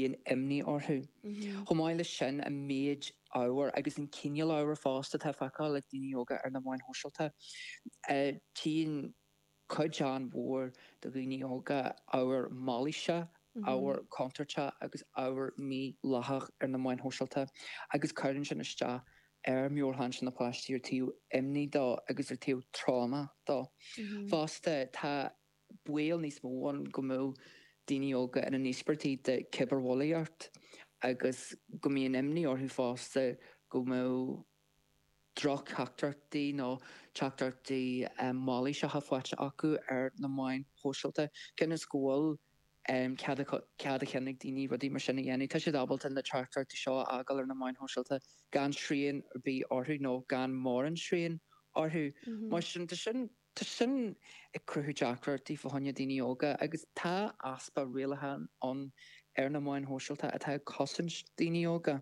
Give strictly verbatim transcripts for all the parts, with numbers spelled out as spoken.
bíonn imní orthu. Chomh maith leis sin, an méid ábhair agus an cineál ábhair fosta atá feiceáil ag daoine óga ar na meáin shóisialta. Tchíonn cuid an-mhór de dhaoine óga ábhar mailíseach, ábhar contúirteach agus ábhar mídhleathach ar na meáin shóisialta agus cuireann sin isteach ar mheabhairshláinte na páistí ar taobh imní dó agus ar taobh tráma dó. Fosta, tá baol níos mó ann go mbeadh daoine óga ina n-íospartaigh de cibearbhulaíocht agus go mbíonn imní orthu fosta go mbeadh drochtheachtaireachtaí nó teachtaireachtaí mailíseacha faighte acu ar na meáin shóisialta. Cionn is go bhfuil cead cead a chinn ag daoine rudaí mar sin a dhéanamh, tá siad ábalta na teachtaireachtaí seo a fhágáil ar na meáin shóisialta gan srian ar bith orthu nó gan mórán srian orthu. Mar sin, tá sin tá sin ag cruthú deacrachtaí fá choinne daoine óga agus tá easpa rialachán ann ar na meáin shóisialta atá ag cosaint daoine óga.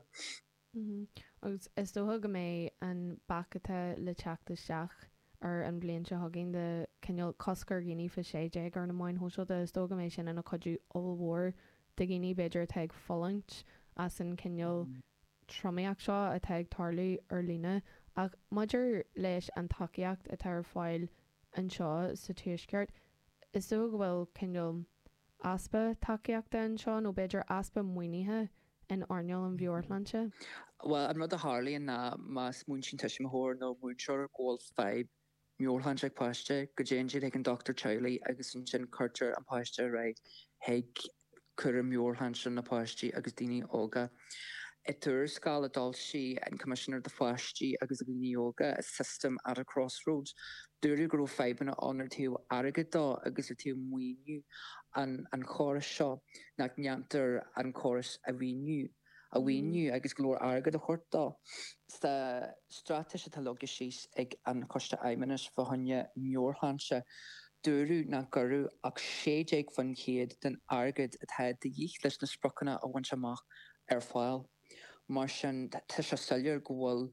Agus is dócha go mbeidh an bac atá le teacht isteach ar an bhliain seo chugainn de cineál cosc ar dhaoine faoi sé déag ar na meáin shóisialta, is dócha go mbeidh sin ina chuidiú ollmhór do dhaoine b'fhéidir atá ag fulaingt as an cineál tromaíocht seo atá ag tarlú ar líne. Ach maidir leis an tacaíocht atá ar fáil anseo sa Tuaisceart, is dócha go bhfuil cineál easpa tacaíochta anseo nó b'fhéidir easpa maoinithe in earnáil an mheabhairshláinte. Bhuel, an rud a tharlaíonn ná má smaointíonn tuismitheoir nó múinteoir go bhfuil fadhb meabhairshláinte ag páiste, go dtéann siad chuig an dochtúir teaghlaigh agus ansin cuirtear an páiste ar aghaidh chuig cúram meabhairshláinte na páistí agus daoine óga. I dtuarascáil a d'fhoilsigh an Coimisinéir do Pháistí agus Dhaoine Óga, A System at a Crossroads, dúradh go raibh fadhbanna ann ar taobh airgid dó agus ar taobh maoiniú an an chórais seo, nach ndéantar an córas a mhaoiniú a mhaoiniú agus go leor airgead a thabhairt dó. Sa straitéis atá leagtha síos ag an Choiste Fheidhmeannais fá choinne meabhairshláinte, dúradh nach gcuireadh ach sé déag faoin chéad den airgead atá de dhíth leis na spriocanna a bhaint amach ar fáil. Mar sin, tá sé soiléir go bhfuil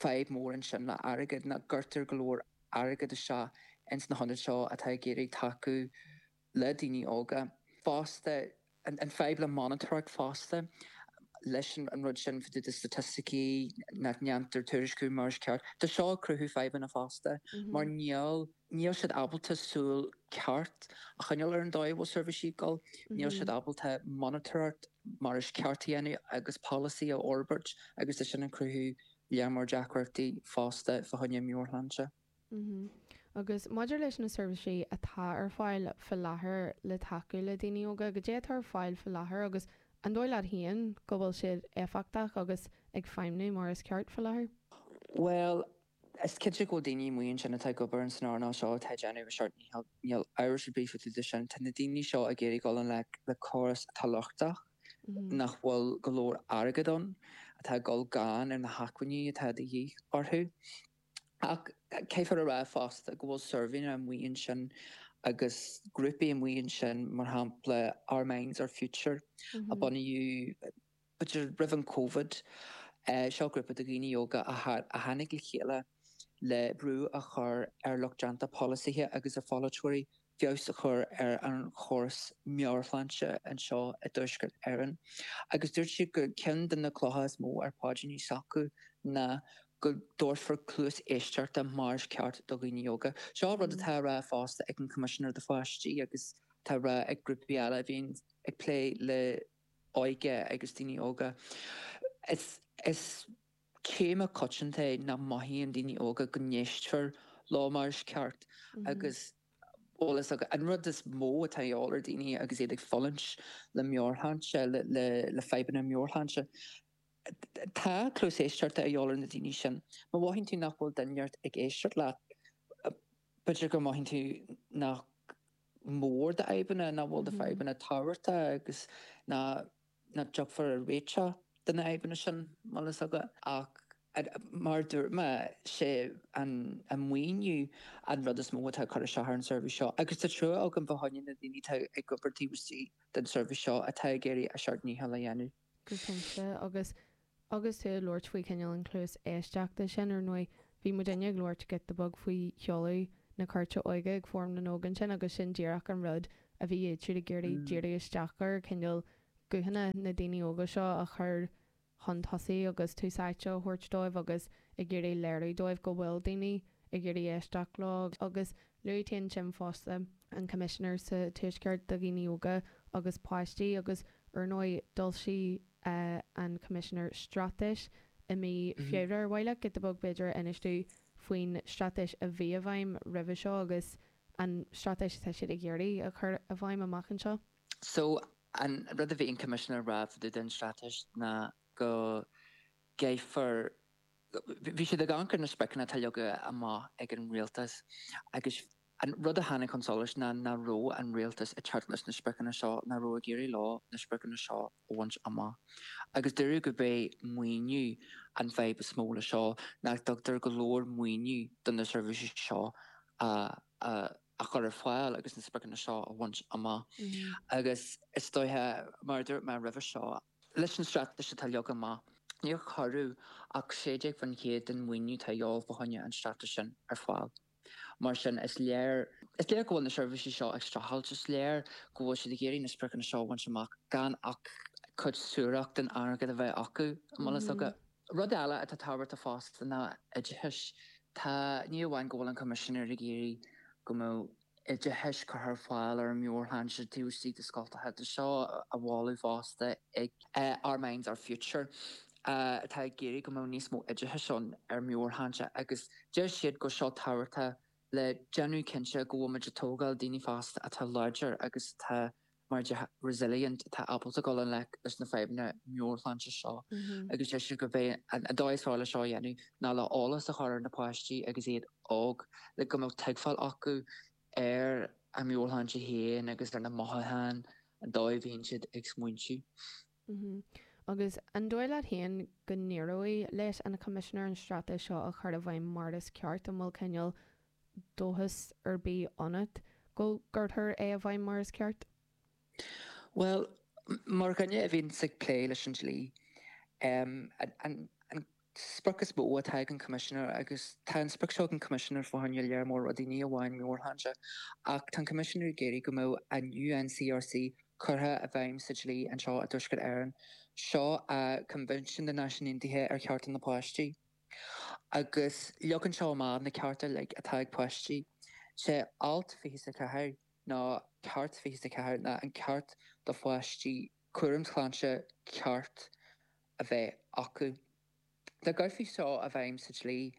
fadhb mór ansin le airgead, nach gcuirtear go leor airgead isteach ins na hionaid seo atá ag iarraidh tacú le daoine óga. Fosta, an fadhb le monatóireacht fosta, leis an rud sin fá dtaobh de staitisticí, nach ndéantar tuairisciú mar is ceart. Tá seo ag cruthú fadhbanna fosta, mar níl níl siad ábalta súil ceart a choinneáil ar an dóigh a bhfuil seirbhísí ag dul, níl siad ábalta monatóireacht mar is ceart a dhéanamh agus polasaí a fhorbairt agus tá sin ag cruthú lear mór deacrachtaí fosta fá choinne meabhairshláinte. Agus maidir leis na seirbhísí atá ar fáil faoi láthair le tacú le daoine óga, goidé atá ar fáil faoi láthair agus an dóigh leat féin go bhfuil siad éifeachtach agus ag feidhmiú mar is ceart faoi láthair? Bhuel, is cinnte go bhfuil daoine amuigh ansin atá ag obair ins an earnáil seo atá ag déanamh a seacht ndícheall, níl amhras ar bith fá dtaobh de sin. Tá na daoine seo ag iarraidh dul i ngleic le córas atá lochtach, nach bhfuil go leor airgead ann, atá ag dul gann ar na hacmhainní atá de dhíth orthu. Ach caithfear a rá fosta go bhfuil suirbhéanna amuigh ansin agus grúpaí amuigh ansin, mar shampla Our Minds Our Future a bunaíodh b'fhéidir roimh an Covid. Seo grúpa de dhaoine óga a tháinig le chéile le brú a chur ar lucht déanta polasaithe agus ar pholaiteoirí feabhas a chur ar an chóras meabhairshláinte anseo i dTuaisceart Éireann agus dúirt siad gur ceann de na clocha is mó ar paidríní s'acu ná go dtabharfar cluas éisteachta mar is ceart do dhaoine óga. Seo rud atá á rá fosta ag an Choimisinéir do Pháistí agus atá á rá ag grúpaí eile a bhíonn ag plé le óige agus daoine óga. Is is téama coitianta é nach mothaíonn daoine óga go n-éistfear leo mar is ceart agus bhfuil fhios agat, an rud is mó atá a dhíobháil ar daoine agus iad ag fulaingt le meabhairshláinte, le le fadhbanna meabhairshláinte, tá cluas éisteachta a dhíobháil ar na daoine sin. Má mhothaíonn tú nach bhfuil duine ag éisteacht leat, b'fhéidir go mothaíonn tú nach mór do fhadhbanna, nach bhfuil do fadhbanna tábhachtach agus nach nach dtiocfar ar réiteach de na fadhbanna sin, bhfuil fhios agat. Ach mar a dúirt mé, sé an maoiniú an rud is mó atá ag cur isteach ar an seirbhís seo agus tá trua agam fá choinne na daoine atá ag obair taobh istigh den seirbhís seo atá ag iarraidh a seacht ndícheall a dhéanamh. Go cinnte, agus agus tú ag labhairt faoi chineál an cluas éisteachta sin, ar ndóigh, bhí muidinne ag labhairt giota beag faoi sheoladh na Cúirte Óige ag Fóram na nÓg ansin agus sin díreach an rud a bhí iad siúd ag iarraidh díriú isteach air, cineál guthanna na daoine óga seo a chur chun tosaigh agus tús áite a thabhairt dóibh agus ag iarraidh léiriú dóibh go bhfuil daoine ag iarraidh éisteacht leo agus luaigh tú ansin fosta an Coimisinéir sa Tuaisceart do dhaoine óga agus páistí agus ar ndóigh d'fhoilsigh an Coimisinéir straitéis i mí Feabhra ar mhaith leat giota beag b'fhéidir a inis dúinn faoin straitéis a bhí i bhfeidhm roimhe seo agus an straitéis atá siad ag iarraidh a chur i bhfeidhm amach anseo? So, an rud a bhí an Coimisinéir a rá fá dtaobh den straitéis ná go gcaithfear, bhí siad ag amharc ar na spriocanna atá leagtha amach ag an rialtas agus an rud a tháinig chun solais ná nach raibh an rialtas ag teacht leis na spriocanna seo, nach raibh ag éirí leo na spriocanna seo a bhaint amach. Agus dúradh gurb é maoiniú an fadhb is mó le seo, nach dtugtar go leor maoiniú do na seirbhísí seo a a chur ar fáil agus na spriocanna seo a bhaint amach. Agus is dóiche, mar a dúirt mé roimhe seo, leis an straitéis atá leagtha amach, níor cuireadh ach sé déag faoin chéad den mhaoiniú atá de dhíobháil fá choinne an straitéis sin ar fáil. Mar sin, is léir, is léir go bhfuil na seirbhísí seo ag streachailt, is léir go bhfuil siad ag iarraidh na spriocanna seo a bhaint amach gan ach cuid suarach den airgead a bheith acu, an bhfuil fhios agat. Rud eile atá tábhachtach fosta ná oideachas. Tá, ní amháin go bhfuil an Coimisinéir ag iarraidh go mbeadh oideachas curtha ar fáil ar an meabhairshláinte taobh istigh de scoltacha, tá seo á mholadh fosta ag Our Minds Our Future atá ag iarraidh go mbeadh níos mó oideachais ann ar meabhairshláinte agus deir siad go seo tábhachtach le déanamh cinnte go bhfuil muid ag tógáil daoine fásta atá láidir agus atá mar a déarfá resilient, atá ábalta dul i ngleic leis na fadhbanna meabhairshláinte seo agus deir siad gurb é an dóigh is fearr le seo a dhéanamh ná le eolas a chur ar na páistí agus iad óg le go mbeadh tuigbheáil acu ar a meabhairshláinte féin agus ar na mothúcháin, an dóigh a bhíonn siad ag smaointiú. Agus an dóigh leat féin go n-éireoidh leis an Choimisinéir an straitéis seo a chur i bhfeidhm mar is ceart? An bhfuil cineál dóchas ar bith ionat go gcuirfear é i bhfeidhm mar is ceart? Bhuel, mar dhuine a bhíonns ag plé leis an dlí, an sprioc is mó atá ag an Choimisinéir, agus tá an sprioc seo ag an Choimisinéir fá choinne lear mór rudaí, ní amháin meabhairshláinte, ach tá an Coimisinéir ag iarraidh go mbeadh an UNCRC curtha i bhfeidhm sa dlí anseo i dTuaisceart Éireann. Seo Coinbhinsiún na Náisiún Aontaithe ar Chearta na Páistí. Agus leagann seo amach na cearta uilig atá ag páistí. Sé alt fiche is a ceathair nó ceart fiche is a ceathair ná an ceart do pháistí cúram sláinte ceart a bheith acu. Dá gcuirfí seo i bhfeidhm sa dlí,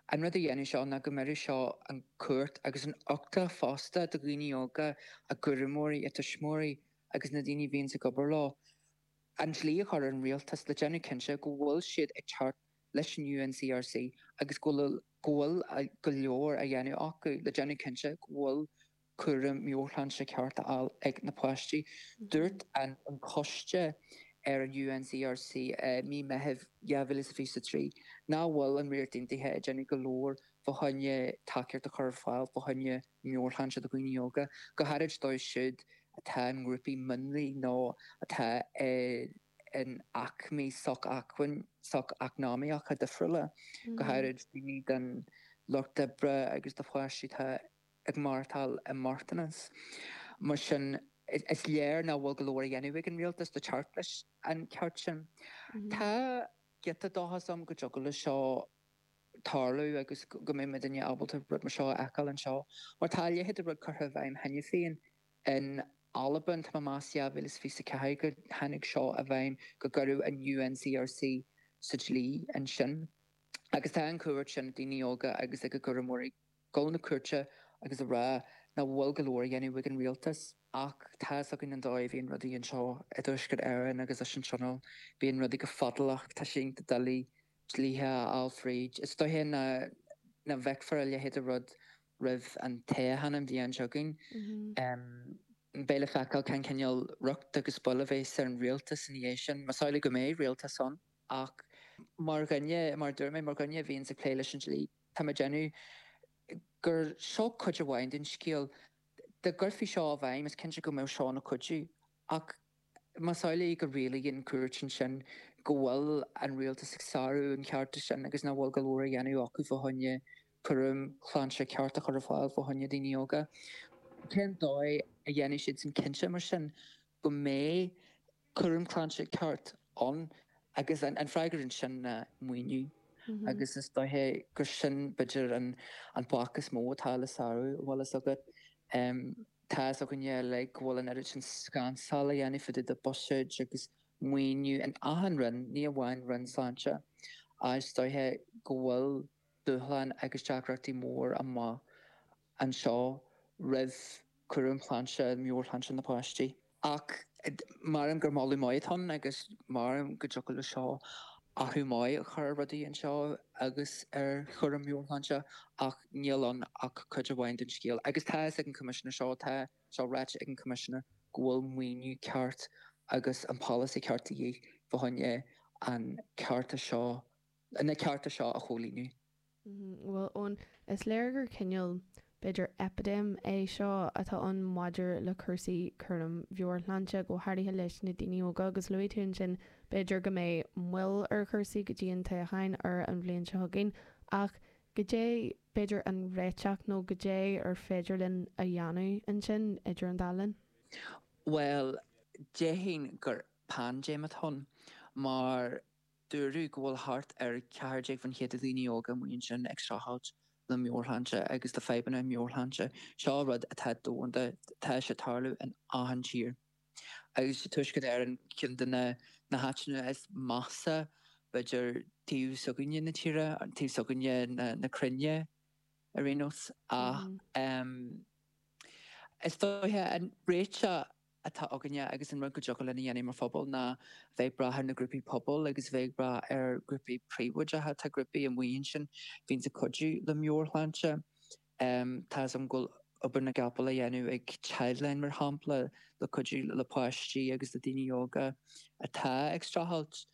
an rud a dhéanfadh seo ná go mbeadh seo an chúirt agus an uchtach fosta do dhaoine óga, a gcúramóirí, a dtuismitheoirí agus na daoine a bhíonns ag obair leo, an dlí a chur ar an rialtas le déanamh cinnte go bhfuil siad ag teacht leis an UNCRC agus go bhfuil go bhfuil go leor á dhéanamh acu le déanamh cinnte go bhfuil cúram meabhairshláinte ceart á fháil ag na páistí. Dúirt an Coiste ar an UNCRC i mí Meithimh dhá mhíle is fiche a trí nach bhfuil an Ríocht Aontaithe ag déanamh go leor fá choinne tacaíocht a chur ar fáil fá choinne meabhairshláinte do dhaoine óga, go háirid dóibh siúd atá i ngrúpaí mionlaigh nó atá in aicmí socheacnamaíocha difriúla, go háirid daoine den lucht oibre agus do pháistí atá ag maireachtáil i mbochtanas. Mar sin, is léir nach bhfuil go leor á dhéanamh ag an rialtas le teacht leis an cheart sin. Tá giota dóchas agam go dtiocfadh leis seo tarlú agus go mbeidh muidinne ábalta rud mar seo a fheiceáil anseo. Mar tá a leithéid de rud curtha i bhfeidhm cheana féin in Albain, tá mé ag meas dhá mhíle is fiche a ceathair go tháinig seo i bhfeidhm go gcuireadh an UNCRC sa dlí ansin. Agus tá an chumhacht sin ag daoine óga agus ag a gcúramóirí dul na cúirte agus a rá nach bhfuil go leor á dhéanamh ag an rialtas. Ach tá fhios againn an dóigh a bhíonn rudaí anseo i dTuaisceart Éireann agus leis an Tionól, bíonn rudaí go fadálach, tá sé iontach doiligh dlíthe a fháil fríd. Is dóiche nach bhfeicfear a leithéid de rud roimh an toghchán an bhliain seo chugainn. Beidh le feiceáil cén cineál riocht agus bail a bheas ar an rialtas ina dhiaidh sin, más amhlaidh go mbeidh rialtas ann. Ach mar dhuine, mar a dúirt mé, mar dhuine a bhíonns ag plé leis an dlí, tá mé ag déanamh gur seo cuid amháin den scéal. Dá gcuirfí seo i bhfeidhm, is cinnte go mbeadh seo ina chuidiú. Ach más amhlaidh go rialaíonn cúirt ansin go bhfuil an rialtas ag sárú an chearta sin agus nach bhfuil go leor á dhéanamh acu fá choinne cúram sláinte ceart a chur ar fáil fá choinne daoine óga, cén dóigh a dhéanfaidh siad sin cinnte mar sin go mbeidh cúram sláinte ceart ann agus an, an freagra ansin ná maoiniú. Mm -hmm. Agus is dóiche gur sin b'fhéidir an, an bac is mó atá le sárú bhfuil fhios agat. Um, tá fhios againne le go bhfuil an oiread sin scansáil a dhéanamh fá dtaobh de buiséid agus maoiniú in achan roinn, ní amháin roinn sláinte. Is dóiche go bhfuil dúshlán agus deacrachtaí mór amach anseo roimh cúram sláinte, meabhairshláinte na páistí. Ach measaim gur moladh maith atá ann agus measaim go dtiocfadh le seo athrú maith a chur ar rudaí anseo agus ar chúram meabhairshláinte ach níl ann ach cuid amháin den scéal. Agus tá fhios ag an Coimisinéir seo, tá seo ráite ag an Coimisinéir go bhfuil maoiniú ceart agus an polasaí ceart de dhíth fá choinne an cearta seo, na cearta seo a chomhlíonadh. Bhuel, Eoin, is léir gur cineál, b'fhéidir, eipidéim é seo atá ann maidir le cúrsaí cúraim mheabhairshláinte, go háirithe leis na daoine óga, agus luaigh tú ansin b'fhéidir go mbeidh moill ar chúrsaí go dtí an toghchán ar an bhliain seo chugainn, ach goidé b'fhéidir an réiteach nó goidé ar féidir linn a dhéanamh ansin idir an dá linn? Bhuel, déarfainn gur paindéim atá ann, mar dúradh go bhfuil thart ar ceathair déag faoin chéad de dhaoine óga amuigh ansin ag streachailt le meabhairshláinte agus le fadhbanna meabhairshláinte. Seo rud atá domhanda, tá sé ag tarlú in achan tír. Agus sa Tuaisceart Éireann, ceann de na na háiteanna is measa, b'fhéidir, taobh s'againne na tíre, taobh s'againne na cruinne ar aon nós. Ach is dóiche an réiteach atá againne agus an rud go dtiocfadh linn a dhéanamh mar phobal ná bheith ag brath ar na grúpaí pobail agus bheith ag brath ar ghrúpaí príobháideacha. Tá grúpaí amuigh ansin a bhíonns ag cuidiú le meabhairshláinte. Tá 'fhios agam go bhfuil obair na gcapall á dhéanamh ag Childline mar shampla le cuidiú le páistí agus le daoine óga atá ag streachailt.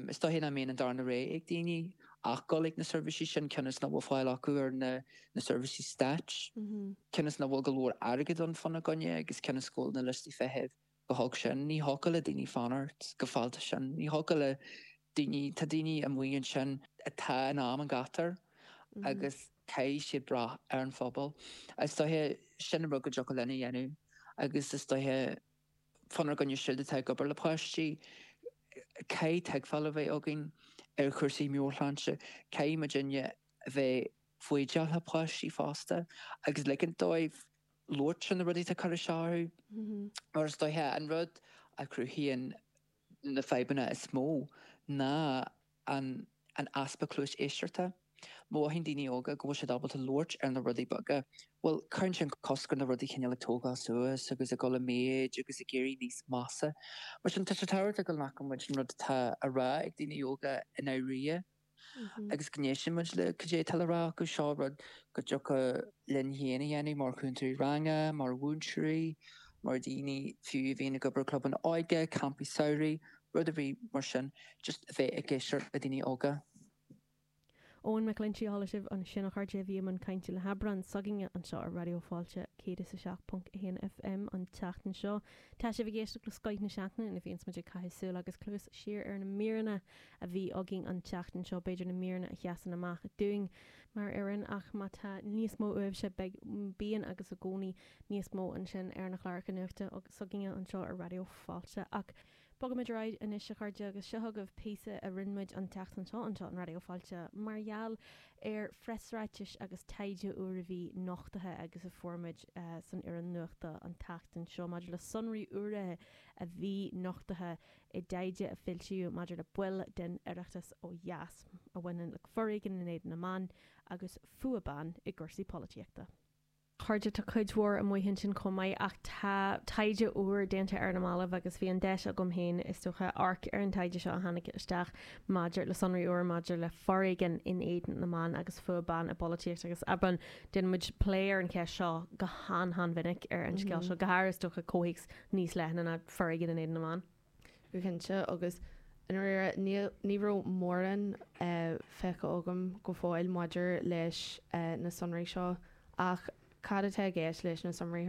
Is dóiche nach mbíonn an darna rogha ag daoine ach dul ag na seirbhísí sin cionn is nach bhfuil fáil acu ar na seirbhísí stáit, cionn is nach bhfuil go leor airgead ann fána gcoinne agus cionn is go bhfuil na liostaí feithimh chomh holc sin. Ní thiocfadh le daoine fanacht chomh fada sin. Ní thiocfadh le daoine, tá daoine amuigh ansin atá in am an ghátair agus caithfidh siad brath ar an phobal. Is dóiche sin an rud go dtiocfadh linn a dhéanamh agus is dóiche fánár gcoinne siúd atá ag obair le páistí, caithfidh tuigbheáil a bheith againn ar chúrsaí meabhairshláinte, caithfidh muidinne a bheith foighdeach le páistí fosta agus ligint dóibh labhairt ar na rudaí atá ag cur isteach orthu. Mar is dóiche an rud a chruthaíonn na fadhbanna is mó ná an an easpa cluas éisteachta. Má mhothaíonn daoine óga go bhfuil siad ábalta labhairt ar na rudaí beaga, bhuel, cuireann sin cosc ar na rudaí cineál ag tógáil suas agus ag dul i méid agus ag éirí níos measa. Mar sin, tá sé tábhachtach go nglacann muid an rud atá á rá ag daoine óga i ndáiríre agus go n-éisteann muid le cad é atá le rá acu. Seo rud go dtiocfadh linn féin a dhéanamh mar chúntóirí ranga, mar mhúinteoirí, mar dhaoine fiú a bhíonn ag obair i gclubanna óige, campaí samhraidh, rud ar bith mar sin, just a bheith ag éisteacht le daoine óga. Eoin McGlinchey a chuala sibh ansin a chairde a bhí i mbun cainte le hAbrán s'againne anseo ar Raidió Fáilte céad is a seacht ponc a haon FM an tseachtain seo. Tá sibh ag éisteacht le Scoith na Seachtaine ina bhíonns muid ag caitheamh súil agus cluas siar ar na míreanna a bhí againn an tseachtain seo, b'fhéidir na míreanna a sheasann amach dúinn mar fhoireann ach má tá níos mó uaibhse beidh, bíonn agus i gcónaí níos mó ansin ar na cláracha nuachta s'againne anseo ar Raidió Fáilte. Ach Bogaimid ar aghaidh anois a chairde agus seo chugaibh píosa a rinne muid an tseachtain seo anseo in Raidió Fáilte mar gheall ar phreasráitis agus taighde úr a bhí nochtaithe agus a fuair muid san fhoireann nuachta an tseachtain seo maidir le sonraí úra a bhí nochtaithe i dtaighde a foilsíodh maidir le baill den Oireachtas ó dheas a bhaineann le foréigean in éadan na mban agus fuath ban i gcúrsaí polaitíochta. Chairde, tá cuid mhór amuigh ansin chomh maith ach tá taighde úr déanta ar na mallaibh agus bhí an deis agam féin, is dócha, amharc ar an taighde seo a tháinig isteach maidir le sonraí úr maidir le foréigean in éadan na mban agus fuath ban i bpolaitíocht agus Abrán, déanann muid plé ar an cheist seo go han-han-mhinic ar an scéal seo, go háirithe is dócha comhthéacs níos leithne ná foréigean in éadan na mban. Go cinnte, agus i ndáiríre ní raibh mórán feicthe agam go fóill maidir leis na sonraí seo ach cad atá i gceist leis na sonraí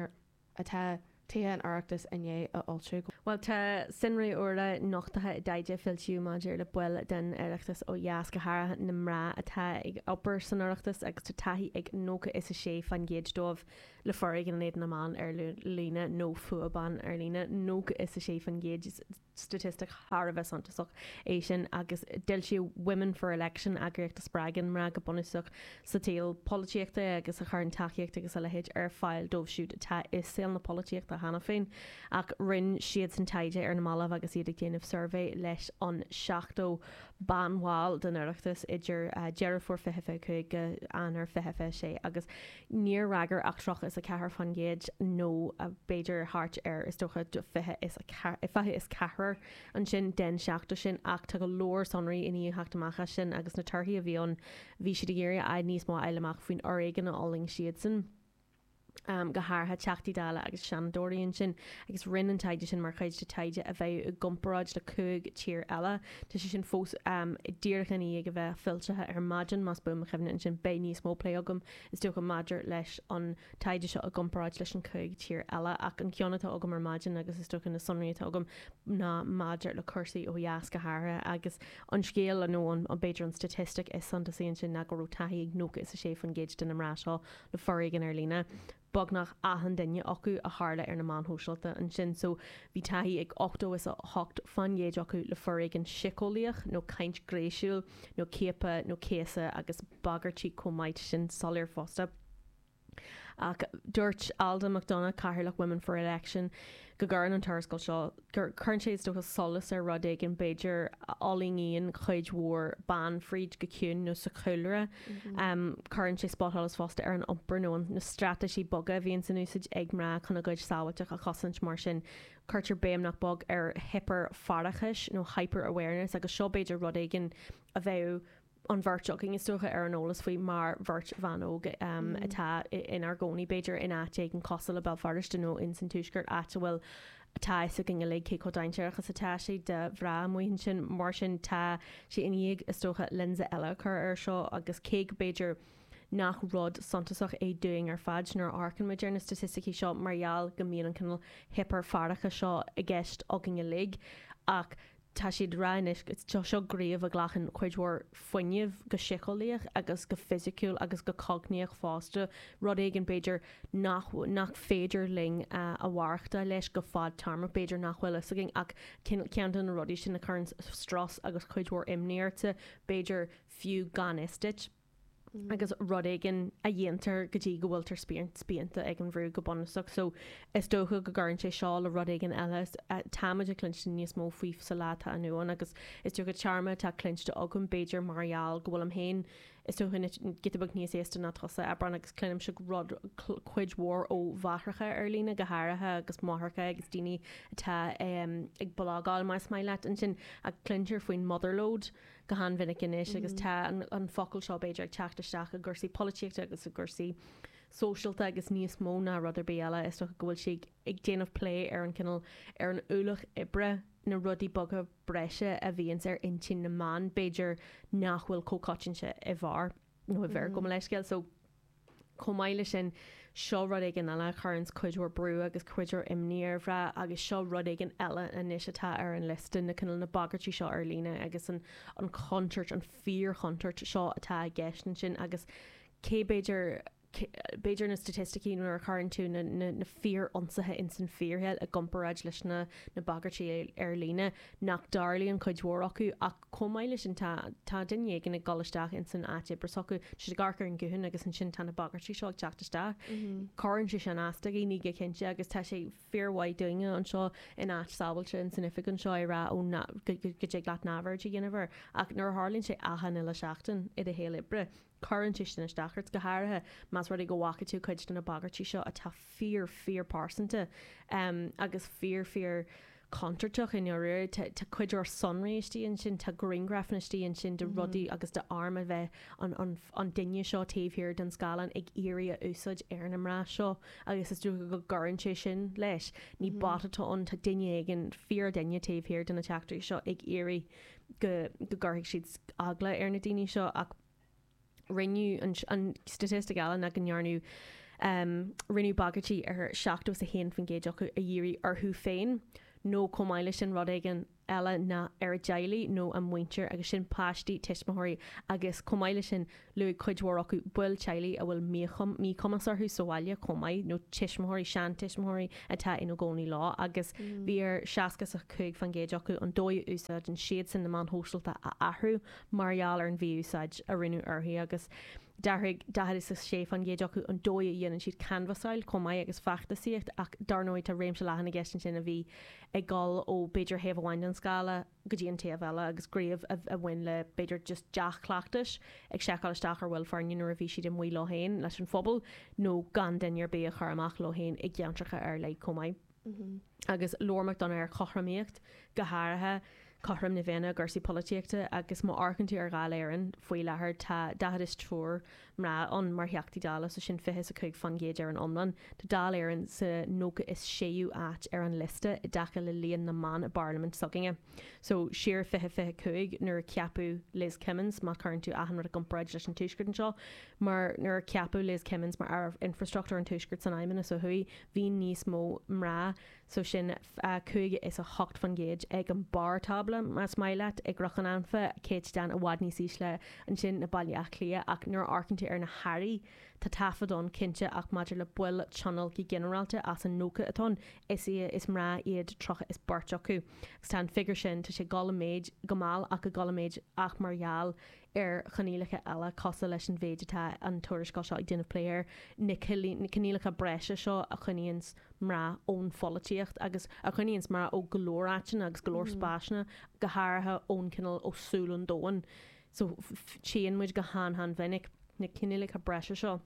atá Tithe an Oireachtais i ndiaidh a fhoilsiú? Bhuel, tá sonraí úra nochtaithe i dtaighde a foilsíodh maidir le baill den Oireachtas ó dheas, go háirithe na mná atá ag obair san Oireachtas agus tá taithí ag nócha is a sé faoin gcéad dóibh le foréigean in éadan na mban ar líne nó fuath ban ar líne, nócha is a sé faoin gcéad. Statistic thar a bheith suntasach é sin agus d'fhoilsigh Women for Election eagraíocht a spreagann mná go bunúsach sa tsaol polaitíochta agus a chuireann tacaíocht agus a leithéid ar fáil dóibh siúd atá i saol na polaitíochta cheana féin ach rinne siadsan taighde ar na mallaibh agus iad ag déanamh suirbhé leis an seachtó banbhall den Oireachtas idir Deireadh Fómhair fiche fiche cúig go Eanáir fiche fiche sé agus níor fhreagair ach tríocha is a ceathair faoin gcéad nó b'fhéidir thart ar is dócha fiche is fiche is ceathrar ansin den seachtó sin ach tá go leor sonraí i ndiaidh theacht amach as sin agus na torthaí a bhí ann bhí siad ag iarraidh níos mó a fháil amach faoin fhoréigean a fhulaing siadsan. Um, go háirithe Teachtaí Dála agus Seanadóirí ansin agus rinne an taighde sin mar chuid de taighde a bheidh i gcomparáid le cúig tír eile. Tá sé sin fós um, díreach i ndiaidh a bheith foilsithe ar maidin más buan mo chuimhne ansin beidh níos mó plé agam is dócha maidir leis an taighde seo i gcomparáid leis an cúig tír eile ach an ceann atá agam ar maidin agus is dócha na sonraí atá agam ná maidir le cúrsaí ó dheas go háirithe agus an scéal nó an b'fhéidir an statistic is suntasaí ansin ná go raibh taithí ag nócha is a sé faoin gcéad de na mná seo le foréigean ar líne. Beagnach achan duine acu a tharla ar na meáin shóisialta ansin so bhí taithí ag ochtó is a hocht faoin gcéad acu le foréigean síceolaíoch nó caint ghnéasúil nó ciapadh nó céasadh agus bagairtí chomh maith sin soiléir fosta. Ach dúirt Alda McDonagh Cathaoirleach Women for Election go gcuireann an tuarascáil seo gur cuireann sé is dócha solas ar rud éigin b'fhéidir a fhulaingíonn cuid mhór ban fríd go ciúin nó sa chúlra. Um, cuireann sé spotsholas fosta ar an iompar nó na straitéisí boga a bhíonn san úsáid ag mná chun a gcuid sábháilteacht a chosaint mar sin cuirtear béim nach beag ar hipearfhaireachas nó hyper-awareness agus seo b'fhéidir rud éigin a bheadh an bheirt againn is dócha ar an eolas faoi mar bheirt bhan óg um, atá inár gcónaí b'fhéidir in áit éigin cosúil le Béal Feirste nó in san Tuaisceart áit a bhfuil atá a fhios againn uilig cé chomh dainséarach is atá sé do mhná amuigh ansin mar sin tá sé i ndiaidh is dócha lionsa eile a chur air seo agus cé go b'fhéidir nach rud suntasach é dúinn ar fad nuair a amharcann muid ar na staitisticí seo mar gheall go mbíonn an cineál hipearfhaireachais seo i gceist againn uilig ach tá siad ag rá anois seo seo gníomh a ghlacann cuid mhór fuinnimh go síceolaíoch agus go fisiciúil agus go cognaíoch fosta rud éigin b'fhéidir nach nach féidir linn a mhaireachtáil leis go fadtéarmach b'fhéidir nach bhfuil fhios againn ach ceann de na rudaí sin a chuireann strus agus cuid mhór imní ortsa b'fhéidir fiú gan fhios duit. agus rud éigin a dhéantar go dtí go bhfuiltear spíonta ag an bhrú go bunúsach. So is dócha go gcuireann sé seo le rud éigin eile táimid ag cluinstin níos mó faoi sa lá atá inniu ann agus is dócha téarma atá cluinste agam b'fhéidir mar gheall go bhfuilim féin is dócha giota beag níos aosta ná tusa Abrán agus cluinimse rud cuid mhór ó mháithreacha ar líne go háirithe agus máithreacha agus daoine atá um, ag blagáil más maith leat ansin ach cluintear faoin motherload go han-mhinic anois agus tá an, an focal seo b'fhéidir ag teacht isteach i gcúrsaí polaitíochta agus i gcúrsaí sóisialta agus níos mó ná rud ar bith eile is dócha go bhfuil sé ag déanamh plé ar an cineál ar an ualach oibre na rudaí beaga breise a bhíonns ar intinn na mban b'fhéidir nach bhfuil chomh coitianta i bhfear nó i bhfir gabh mo leithscéal so chomh maith leis sin seo rud éigin eile a chuireanns cuid mhór brú agus cuid mhór imní ar mhná agus seo rud éigin eile anois atá ar an liosta na cineál na bagairtí seo ar líne agus an an chontúirt an fíorchontúirt seo atá i gceist ansin agus cé b'fhéidir b'fhéidir na staitisticí nuair a chuireann tú na, na, na fíor-ionsaithe in san fíorshaol i gcomparáid leis na, na bagairtí ar líne nach dtarlaíonn cuid mhór acu ach chomh maith leis sin tá tá duine éigin ag dul isteach in san áit oibre s'acu siad ag amharc ar an gutháin agus ansin tá na bagairtí seo ag teacht isteach. Cuireann sé sin as do dhaoine go cinnte agus tá sé fíormhaith dúinne anseo in áit sábháilte in san oifig anseo ag rá ó go go dtig leat neamhaird a dhéanamh air ach nuair a tharlaíonn sé achan uile seachtain i do shaol oibre cuireann sé sin isteach ort go háirithe más rud é go bhfaca tú cuid de na bagairtí seo atá fíor fíor pearsanta um, agus fíor fíor contúirteach i ndáiríre tá cuid mhór sonraí istigh ansin tá grianghrafanna istigh ansin de rudaí agus de arm a bheith an, an, an duine seo taobh thiar den scáileán ag iarraidh a úsáid ar na mná seo agus is dócha go gcuireann sé sin leis. Ní bot atá ann tá duine éigin fíor duine taobh thiar de na teachtaireachtaí seo ag iarraidh go go gcuirfidh siad eagla ar na daoine seo ach rinneadh an, an statistic eile ná go ndearnadh um, rinneadh bagairtí ar seachtó is a haon faoin gcéad acu a dhírigh orthu féin nó chomh maith leis sin rud éigin eile ná ar a dteaghlaigh nó a muintir agus sin páistí tuismitheoirí agus chomh maith leis sin luaigh cuid mhór acu baill teaghlaigh a bhfuil míchumas orthu sa bhaile chomh maith nó tuismitheoirí seantuismitheoirí atá ina gcónaí leo agus bhí ar seasca is a cúig faoin gcéad acu an dóigh a úsáideann siadsan na meáin shóisialta a athrú mar gheall ar an mhí-úsáid a rinneadh orthu agus D'athraigh daichead is a sé faoin gcéad acu an dóigh a dhéanann siad canbhasáil chomh maith agus feachtasaíocht ach dar ndóigh tá réimse leathan i gceist ansin a bhí ag dul ó b'fhéidir thaobh amháin den scála go dtí an taobh eile agus gníomh a bhain le b'fhéidir just dea-chleachtais ag seiceáil isteach ar bhaill foirne nuair a bhí siad amuigh leo féin leis an phobal nó gan duine ar bith a chur amach leo féin i gceantracha ar leith chomh maith. Agus labhair McDonagh ar chothromaíocht go háirithe cothrom na Féinne i gcúrsaí polaitíochta agus má amharcann tú ar Dháil Éireann faoi láthair tá daichead is triúr mná ann mar Theachtaí Dála, so sin fiche is a cúig faoin gcéad ar an iomlán. Tá Dáil Éireann sa nócha is séú áit ar an liosta i dtaca le líon na mban i bparlaimint s'againne. So siar fiche fiche cúig nuair a ceapadh Liz Kimmins, má chuireann tú achan rud i gcomparáid leis an Tuaisceart anseo, mar nuair a ceapadh Liz Kimmins mar Aire Infreastruchtúir an Tuaiscirt san Fheidhmeannas ó thuaidh, bhí níos mó mná so sin cúig is a hocht faoin gcéad ag an barr tábla, más maith leat, i gCnoc an Anfa, céatadán i bhfad níos ísle ansin ná Baile Átha Cliath ach nuair a amharcann tú ar na hairí, tá taifead ann cinnte ach maidir le baill tionóil go ginearálta as an nócha atá ann, is is mná iad tríocha is beirt acu. Agus tá an figiúr sin, tá sé ag dul i méid go mall ach ag dul i méid ach mar gheall ar choinníollacha eile cosúil leis an mhéid atá an tuarascáil seo ag déanamh plé air, na coinníollacha breise seo a choinníonns mná ón pholaitíocht agus a choinníonns mná ó go leor áiteanna agus go leor spásanna, go háirithe ón cineál ó súil an domhain. So tchíonn muid go han-han-mhinic na coinníollacha breise seo.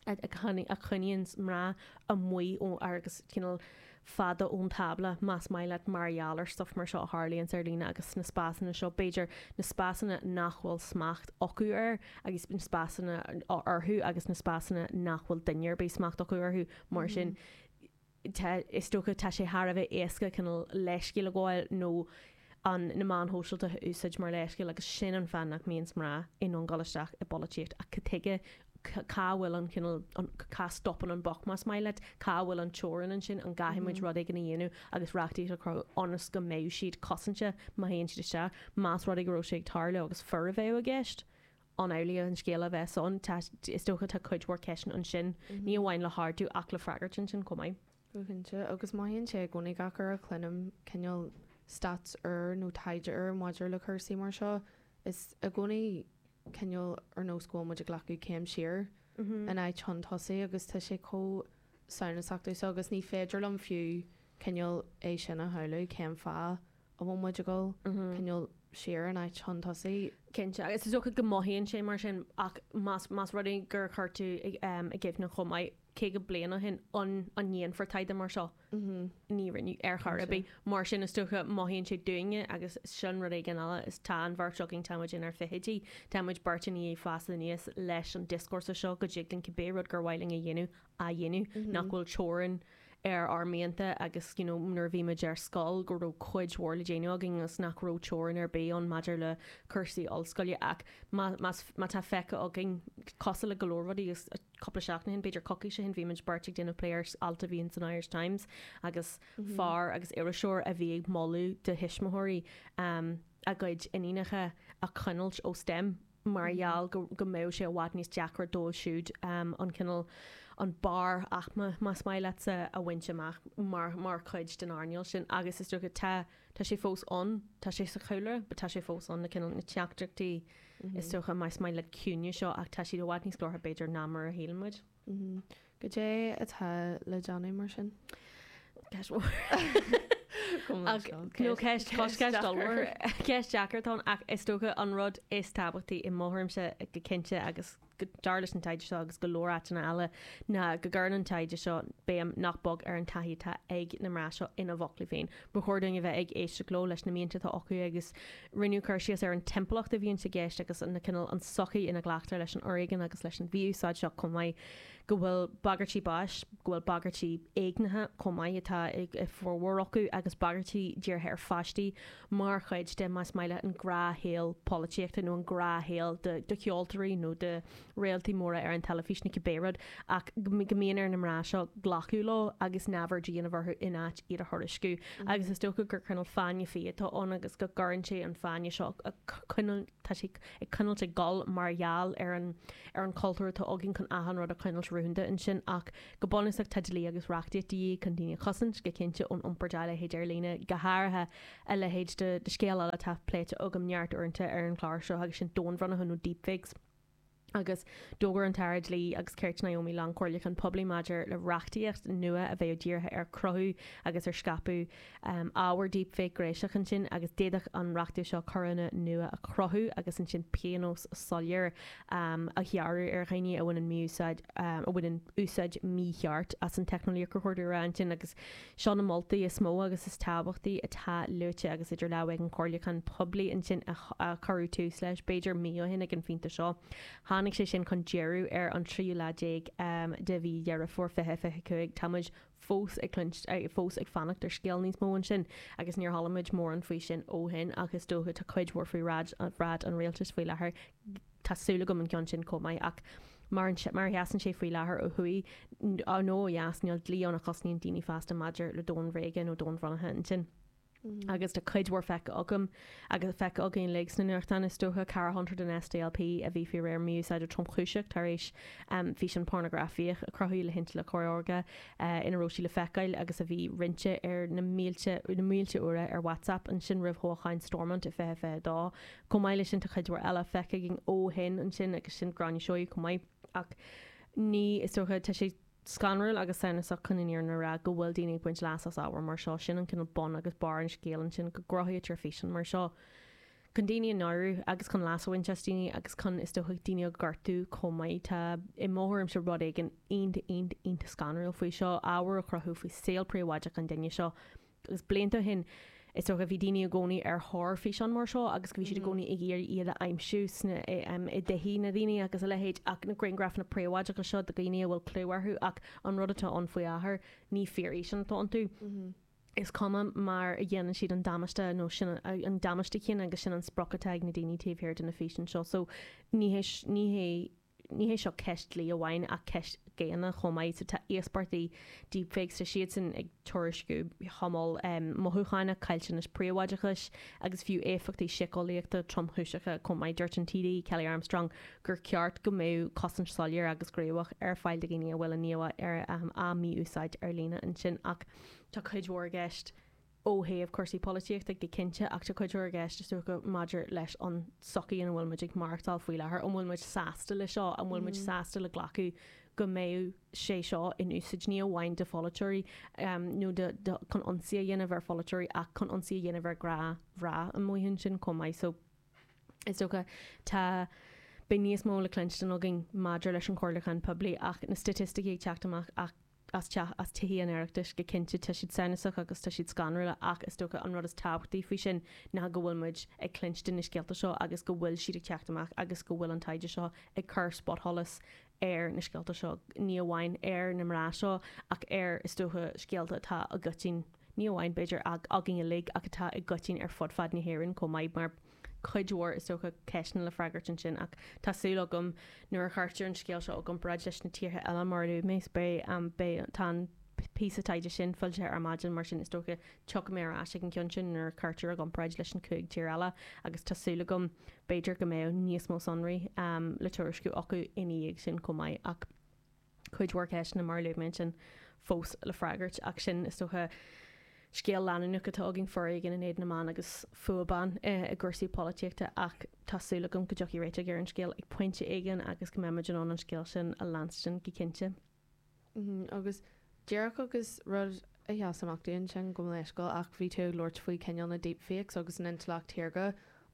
a choinníonns mná amuigh ó agus cineál fada ón tábla, más maith leat, mar gheall ar stuff mar seo a tharlaíonns ar líne agus sna spásanna seo, b'fhéidir na spásanna nach bhfuil smacht acu air agus na spásanna orthu agus na spásanna nach bhfuil duine ar bith smacht acu orthu, mar sin tá, is dócha, tá sé thar a bheith éasca cineál leithscéal a ghabháil nó an na meáin shóisialta a úsáid mar leithscéal agus sin an fáth nach mbíonns mná in ann dul isteach i bpolaitíocht ach cad tuige cá bhfuil an cineál an cá stopann an buck más maith leat, cá bhfuil an teorainn ansin, an gcaithfidh muid rud éigin a dhéanamh agus reachtaíocht a chruthú ionas go mbeidh siad cosanta má théann siad isteach, más rud é go raibh sé ag tarlú agus fir a bheadh i gceist, an amhlaidh an scéal a bheas ann? Tá, is dócha tá cuid mhór ceisteanna ansin, ní amháin le hardú ach le freagairt ansin chomh maith. Go cinnte, agus mothaíonn sé i gcónaí gach uair a chluinim cineál stats úr nó taighde úr maidir le cúrsaí mar seo, is i gcónaí cineál ar nós go bhfuil muid ag glacadh céim siar in áit chun tosaigh agus tá sé chomh samhnasach domhsa agus ní féidir liom fiú cineál é sin a shamhlú cén fáth a bhfuil muid ag dul cineál siar in áit chun tosaigh. Cinnte, agus is dócha go mothaíonn sé mar sin ach más más rud é gur chuir tú i gcuimhne chomh maith caoga bliain ó shin an an ndéanfar taighde mar seo? Ní rinneadh ar chor ar bith. Mar sin is dócha mothaíonn sé dúinne agus sin rud éigin eile is tá an bheirt againn tá muid inár bhfichidí, tá muid beirt i ndiaidh fás aníos leis an dioscúrsa seo go dtig linn cibé rud gur mhaith linn a dhéanamh a dhéanamh, nach bhfuil teorainn ar ár mianta agus you know nuair a bhí muid ar scoil go raibh cuid mhór le déanamh againn agus nach raibh teorainn ar bith ann maidir le cúrsaí ollscoile ach má más má tá feicthe againn cosúil le go leor rudaí agus cúpla seachtain ó shin b'fhéidir coicís ó shin bhí muid beirt ag déanamh plé ar alt a bhí in san Irish Times agus fear agus iriseoir a bhí ag moladh do thuismitheoirí um, a gcuid iníonacha a choinneáilt ó STEM mar gheall go go mbeadh sé i bhfad níos deacra dóibh siúd an cineál, an barr aicme, más maith leatsa, a bhaint amach mar mar chuid den earnáil sin agus is dócha tá tá sé fós ann, tá sé sa chúlra but tá sé fós ann na cineál na teachtaireachtaí is dócha más maith leat ciúine seo ach tá siad i bhfad níos glórtha b'fhéidir ná mar a shíleann muid. Goidé atá le déanamh mar sin? Ceist mhór. Nó ceist ceist ollmhór. Ceist deacair atá ann ach is dócha an rud is tábhachtaí i mo thuairimse go cinnte agus dar leis an taighde seo agus go leor áiteanna eile ná go gcuireann an taighde seo béim nach beag ar an taithí atá ag na mná seo ina bhfoclaí féin. Ba chóir dúinn a bheith ag éisteacht leo leis na mianta atá acu agus rinneadh cur síos ar an timpeallacht a bhíonn i gceist agus na cineál an tsochaí ina nglactar leis an fhoréigean agus leis an mhí-úsáid seo chomh maith. go bhfuil bagairtí báis, go bhfuil bagairtí éignithe chomh maith atá ag formhór acu agus bagairtí dírithe ar pháistí mar chuid de, más maith leat, an gnáthshaol polaitíochta nó an gnáthshaol do cheoltóirí nó do réaltaí móra ar an teilifís nó cibé rud ach go mbíonn ar na mná seo glacadh leo agus neamhaird a dhéanamh orthu in áit iad a thuairisciú. Agus is dócha gur cineál fáinne fí atá ann agus go gcuireann sé an fáinne seo a choinneáil tá sé ag coinneáilt ag gol mar gheall ar an ar an cultúr atá againn chun achan rud a choinneáilt rúnda ansin ach go bunúsach tá dlí agus reachtaíocht de dhíth chun daoine a chosaint go cinnte ón iompar dá leithéid ar líne go háirithe a leithéid de de scéal eile atá pléite agam neart uaireanta ar an chlár seo agus sin domhainbhronnithe nó deepfakes. Agus d'fhógair an tAire Dlí agus Cirt Naomi Long comhairliúchán poiblí maidir le reachtaíocht nua a bheadh dírithe ar chruthú agus ar scaipeadh ábhar deepfake gnéasach ansin agus d'fhéadfadh an reachtaíocht seo coireanna nua a chruthú agus ansin pionós soiléir a ghearradh ar dhaoine a bhaineann mí-úsáid a bhaineann úsáid mícheart as an teicneolaíocht a chur ansin agus seo na moltaí is mó agus is tábhachtaí atá luaite agus idir lámha ag an chomhairliúchán poiblí ansin a cuireadh tús leis b'fhéidir mí ó shin ag an phointe seo. Tháinig sé sin chun deireadh ar an tríú lá déag de mhí Dheireadh Fómhair fiche fiche cúig. Tá muid fós ag cluinst, fós ag fanacht ar scéal níos mó ansin agus níor chuala muid mórán faoi sin ó shin ach is dócha tá cuid mhór faoi bhráid an rialtais faoi láthair. Tá súil agam an ceann sin chomh maith ach mar mar a sheasann sé faoi láthair ó thuaidh nó ó dheas níl dlí ann a chosnaíonn daoine feasta maidir le domhainbhréaga nó domhainbhronnaithe ansin. Agus tá cuid mhór feicthe agam agus feicthe againn uilig sna nuachtáin is dócha, Cara Hunter den SDLP a bhí faoi réir mí-úsáide tromchúiseach tar éis físeán pornagrafaíoch a cruthú le hintleacht shaorga ina raibh sí le feiceáil agus a bhí roinnte ar na mílte na mílte uaire ar WhatsApp ansin roimh thoghchán Stormont i fiche fiche dó. Chomh maith leis sin tá cuid mhór eile feicthe againn ó shin ansin agus sin Gráinne Seoighe chomh maith ach ní is dócha tá sé scanrúil agus samhnasach chun an fhírinne a rá go bhfuil daoine ag baint leas as ábhar mar seo. Sin an cineál bun agus barr an scéil ansin go gcruthaítear físeáin mar seo chun daoine a náiriú agus chun leas a bhaint as daoine agus chun is dócha daoine a ghortú chomh maith. Tá i mo thuairimse rud éigin iontach iontach iontach scanrúil faoi seo, ábhar a chruthú faoi saol príobháideach an duine seo agus blianta ó shin is dócha bhí daoine i gcónaí ar thóir físeán mar seo agus go bhí siad i gcónaí ag iarraidh iad a aimsiú sna i dtithe na ndaoine agus a leithéid ach na grianghrafanna príobháideacha seo de dhaoine a bhfuil clú orthu ach an rud atá ann faoi láthair ní fíorfhíseán atá iontu. Is cuma mar a dhéanann siad an damáiste nó sin an damáiste céanna agus sin an sprioc atá ag na daoine taobh thiar de na físeáin seo so ní hé ní hé Ní hé seo ceist dlí amháin ach ceist dhaonna chomh maith. So tá íospartaigh deepfakes, tá siadsan ag tuairisciú tamall mothúchánach, caillteanas príobháideachais agus fiú éifeachtaí síceolaíochta tromchúiseacha chomh maith. Dúirt an TD Kelly Armstrong gur ceart go mbeadh cosaint soiléir agus gníomhach ar fáil do dhaoine a bhfuil a n-íomhá ar á mí-úsáid ar líne ansin ach tá cuid mhór i gceist ó thaobh cúrsaí polaitíochta go cinnte, ach tá cuid mhór i gceist, is dócha, maidir leis an tsochaí ina bhfuil muid ag maireachtáil faoi láthair. An bhfuil muid sásta le seo? An bhfuil muid sásta le glacadh go mbeadh sé seo in úsáid ní amháin do pholaiteoirí nó do, do, chun ionsaí a dhéanamh ar pholaiteoirí ach chun ionsaí a dhéanamh ar ghnáthmhná amuigh ansin chomh maith. So, is dócha, tá, beidh níos mó le cluinstin againn maidir leis an chomhairliúchán poiblí ach na staitisticí ag teacht amach ach as teach, as Tithe an Oireachtais go cinnte, tá siad samhnasach agus tá siad scanrúil ach is dócha an rud is tábhachtaí faoi sin ná go bhfuil muid ag cluinstin na scéalta seo agus go bhfuil siad ag teacht amach agus go bhfuil an taighde seo ag cur spotsholas ar na scéalta seo, ní amháin ar na mná seo ach ar, is dócha, scéalta atá i gcoitinn, ní amháin b'fhéidir againn uilig ach atá i gcoitinn ar fud fad na hÉireann chomh maith mar cuid mhór, is dócha, ceisteanna le freagairt ansin ach tá súil agam nuair a chuirtear an scéal seo i gcomparáid leis na tíortha eile mar a luaigh mé, beidh, beidh, tá an píosa taighde sin foilsithe ar maidin mar sin is dócha tiocfaidh mé ar ais ag an gceann sin nuair a chuirtear i gcomparáid leis an cúig tír eile agus tá súil agam b'fhéidir go mbeidh níos mó sonraí le tuairisciú acu ina dhiaidh sin chomh maith ach cuid mhór ceisteanna mar a luaigh mé ansin fós le freagairt ach sin is dócha scéal leanúnach atá againn, foréigean in éadan na mban agus fuath ban i gcúrsaí polaitíochta ach tá súil agam go dtiocfaidh réiteach ar an scéal ag pointe éigin agus go mbeidh muid in ann an scéal sin a leanstan go cinnte. Agus díreach agus rud a sheas amach dúinn ansin gabh mo leithscéal ach bhí tú ag labhairt faoi cineál na deepfakes agus an intleacht shaorga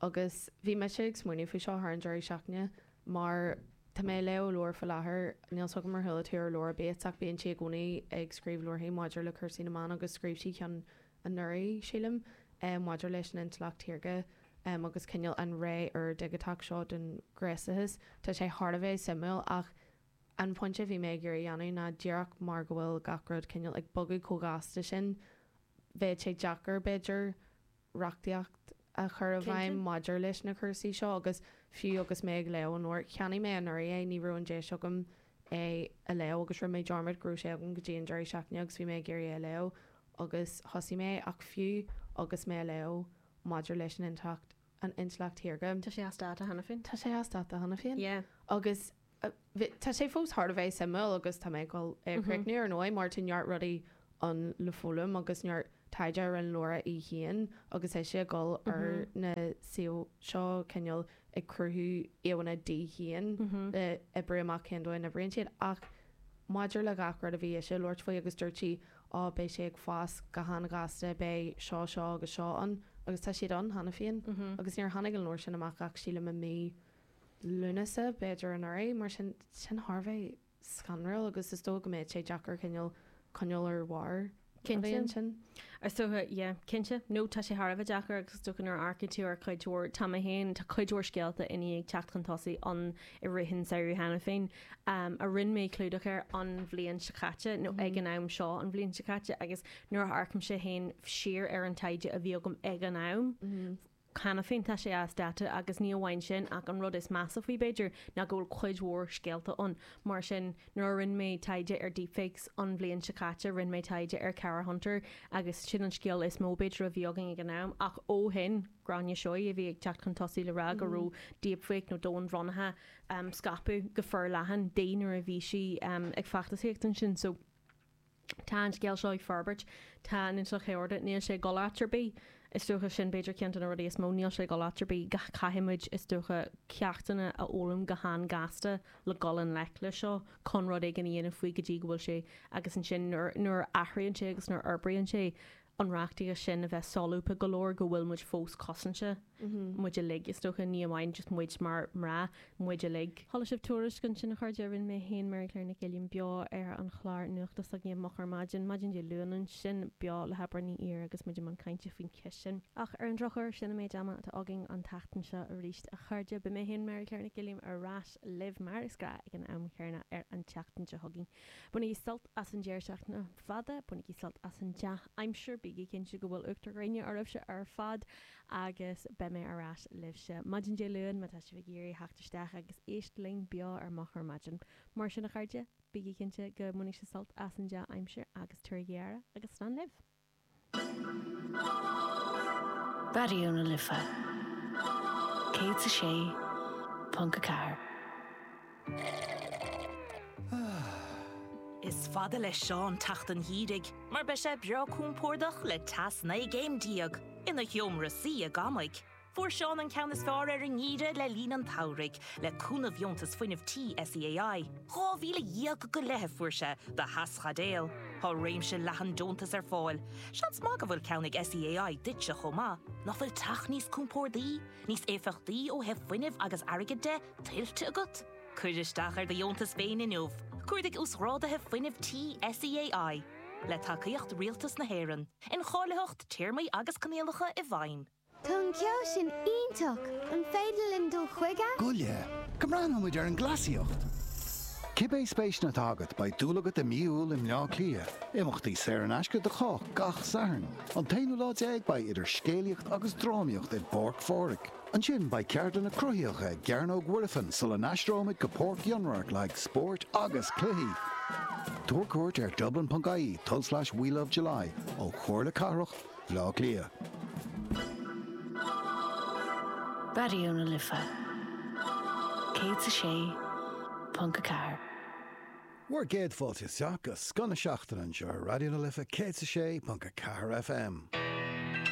agus bhí mise ag smaoineamh faoi seo thar an deireadh seachtaine mar tá mé ag léamh leabhar faoi láthair, níl 'fhios agam ar chuala tú ar Laura Bates ach bíonn sí i gcónaí ag scríobh leabharthaí maidir le cúrsaí na mban agus scríobh sí ceann anuraidh, sílim, maidir leis an intleacht shaorga agus cineál an ré úr dhigiteach seo den ghnéasachas. Tá sé thar a bheith suimiúil ach an pointe a bhí mé ag iarraidh a dhéanamh ná díreach mar go bhfuil gach rud cineál ag bogadh chomh gasta sin, bheadh sé deacair, b'fhéidir, reachtaíocht a chur i bhfeidhm maidir leis na cúrsaí seo agus fiú agus mé ag léamh an leabhar cheannaigh mé anuraidh é ní raibh an deis agam é a léamh agus rinne mé dearmad go raibh sé agam go dtí an deireadh seachtaine agus bhí mé ag iarraidh é a léamh agus thosaigh mé ach fiú agus mé a léamh maidir leis an intleacht an intleacht shaorga. Tá sé as dáta cheana féin? Tá sé as dáta cheana féin. Yeah. Agus uh, tá sé fós thar a bheith suimiúil agus tá mé ag dul é a chríochnú ar ndóigh mar tá neart rudaí ann le foghlaim agus neart taighde ar an Laura í féin agus é sé ag dul ar na suímh seo cineál ag cruthú íomhánna di féin le oibriú amach cén dóigh a n-oibríonn siad ach maidir le gach rud a bhí ise ag labhairt faoi agus dúirt sí á beidh sé ag fás go han-ghasta beidh seo seo agus seo ann agus tá siad ann cheana féin agus níor tháinig an leabhar sin amach ach sílim i mí Lúnasa b'fhéidir anuraidh mar sin sin thar a bheith scanrúil agus is dóigh go mbeidh sé deacair cineál coinneáil ar bharr Cinnte. sin. Is dócha yeah, cinnte nó tá sé thar a bheith deacair agus is dócha nuair a amharcann tú ar chuid mhór tá mé féin tá cuid mhór scéalta i ndiaidh teacht chun tosaigh an i rith an samhradh cheana féin um, a rinne mé clúdach ar an bhliain seo caite nó ag an am seo an bhliain seo caite agus nuair a amharcaimse féin siar ar an taighde a bhí agam ag an am. Cheana féin tá sé as dáta agus ní amháin sin ach an rud is measa faoi b'fhéidir ná go bhfuil cuid mhór scéalta ann mar sin nuair a rinne mé taighde ar deepfakes an bhliain seo caite rinne mé taighde ar Cara Hunter agus sin an scéal is mó b'fhéidir a bhí againn ag an am ach ó shin Gráinne Seoighe a bhí ag teacht chun tosaigh le rá go raibh deepfake nó domhainbhronnithe um, scaipeadh go forleathan di nuair a bhí sí um, ag feachtasaíocht ansin so Tá an scéal seo ag forbairt tá an intleacht shaorga níl sé ag dul áit ar bith is dócha sin b'fhéidir ceann de na rudaí is mó níl sé ag dul áit ar bith gach caithfimid is dócha ceachtanna a fhoghlaim go han-ghasta le dul i ngleic le seo chun rud éigin a dhéanamh faoi go dtí go bhfuil sé agus ansin nuair nuair a athraíonn sé agus nuair a fhorbraíonn sé an reachtaíocht sin a bheith solúbtha go leor go bhfuil muid fós cosanta muid uilig is dócha ní amháin just muid mar mná muid uilig. Chuala sibh tuairisc ansin a chairde rinne mé féin Mary Claire Nic Uilliam beo ar an chlár nuachta s'againne Moch ar Maidin, maidin Dé Luain ansin beo le hAbrán Ní Ír agus muid i mbun cainte faoin cheist sin. Ach ar an drochuair sin an méid ama atá againn an tseachtain seo arís a chairde beidh mé féin Mary Claire Nic Uilliam ar ais libh mar is gnách ag an am céanna ar an tseachtain seo chugainn. Bainigí sult as an deireadh seachtaine fada, bainigí sult as an dea-aimsir, bígí cinnte go bhfuil uachtar gréine oraibhse ar fad agus beidh mé ar ais libhse. Maidin Dé Luain má tá sibh ag iarraidh theacht isteach agus éist linn beo ar Moch ar Maidin. Mar sin a chairde, bígí cinnte go mbainfidh sibh sult as an dea-aimsir agus tabhair aire agus slán libh. Raidió na Life Céad a sé ponc a ceathair. Is fada le Seán teacht an gheimhridh, mar beidh sé breá compordach le teas naoi gcéim déag ina sheomra suí i gCamaigh. Fuair Seán an ceann is fearr ar an ngeimhreadh le linn an tsamhraidh le cúnamh dheontas fuinnimh tí SEAI. Dhá mhíle dhéag go leith a fuair sé do theaschaidéal. Tá réimse leathan deontas ar fáil. Seans maith go bhfuil ceann ag SEAI duitse chomh maith, nach bhfuil teach níos compordaí, níos éifeachtaí ó thaobh fuinnimh agus airgid de tuillte agat. Cuir isteach ar do dheontas féin inniu, Cuardaigh uasghráduithe fuinnimh tí SEAI, le tacaíocht Rialtas na hÉireann, incháilitheacht téarmaí agus coinníollacha i bhfeidhm. Tá an ceol sin iontach an féidir linn dul chuige? Gule, go mbreathnóimid ar an gcleasaíocht. Cibé spéis atá agat beidh dúil agat i mí Iúil i mBleá Cliath, imeachtaí saor in aisce do chách gach Satharn. An t-aonú lá déag beidh idir scéalaíocht agus drámaíocht i bPáirc Phádraig. Ansin beidh ceardlanna cruthaitheacha i gCearnóg Mhuirfean sula n-aistreoimid go Páirc Fhionnradhairc le haghaidh spóirt agus cluichí. Tabhair cuairt ar dublin.ie tulslais We Love July ó Chomhairle Cathrach Bhaile Átha Cliath. Raidió na Life Céad a sé ponc a ceathair. Bhur gcéad fáilte isteach go Scoth na Seachtaine anseo ar Raidió na Life céad a sé ponc a ceathair FM.